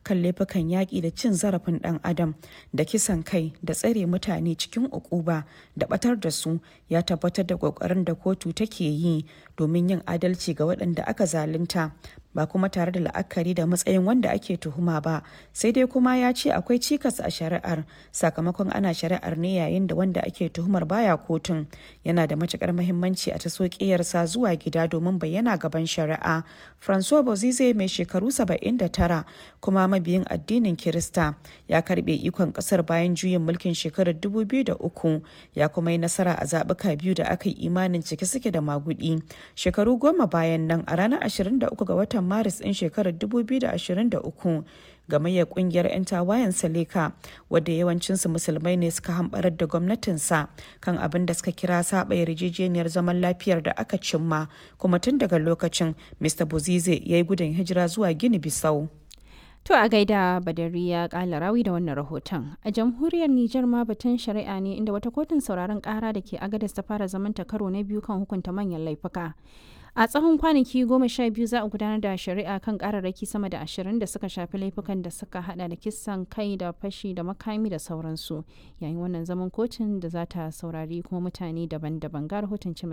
kan laifukan yaƙi da cin zarafin ɗan adam da kisan kai da tsare mutane cikin ukuba da batar da su ya tabbatar da ƙoƙarin da kotu take yi domin yin adalci ga waɗanda aka zalunta, ba kuma tare da la'akari da matsayin wanda ake tuhuma ba. Sai dai kuma ya ce akwai cikas a shari'ar sakamakon ana shari'ar ne yayin da wanda ake tuhumar baya kotun. Yana da matukar muhimmanci a taso ƙiyarsa zuwa gida domin bayyana gaban shari'a. Francois Bozize, mai shekaru 79 kuma mabiyin addinin Kirista, ya karbe ikon kasar bayan juyin mulkin shekarar 2003, ya kuma yi nasara a zaɓuka biyu da aka yi imanin cike suke da magudi. Shekaru 10 bayan nan, a ranar 23 ga watan Maris ɗin shekarar 2023, gamayyar kungiyar 'yan tawayen Seleka, wadda yawancinsu Musulmai ne, suka hambarar da gwamnatinsa kan abin da suka kira saba yarjejeniyar zaman lafiyar da aka cimma. Kuma tun daga lokacin Mr Bozize ya yi gudun hijira zuwa Gini Bisau. To a gaida Badariya Kala Rawi da wannan rahoton. A jamhuriyar Nijar ma batun shari'a ne, inda wata kotun sauraron kara da ke Agadez ta fara zamanta karo na biyu kan hukunta manyan laifuka. A tsawon kwanaki 12 za a gudanar da shari'a kan kararraki sama da 20 da suka shafi laifukan da suka hada da kisan kai da fashi da makami da sauransu. Yayin wannan zaman kotun da za ta saurari kuma mutane daban-daban, ga rahoton Cima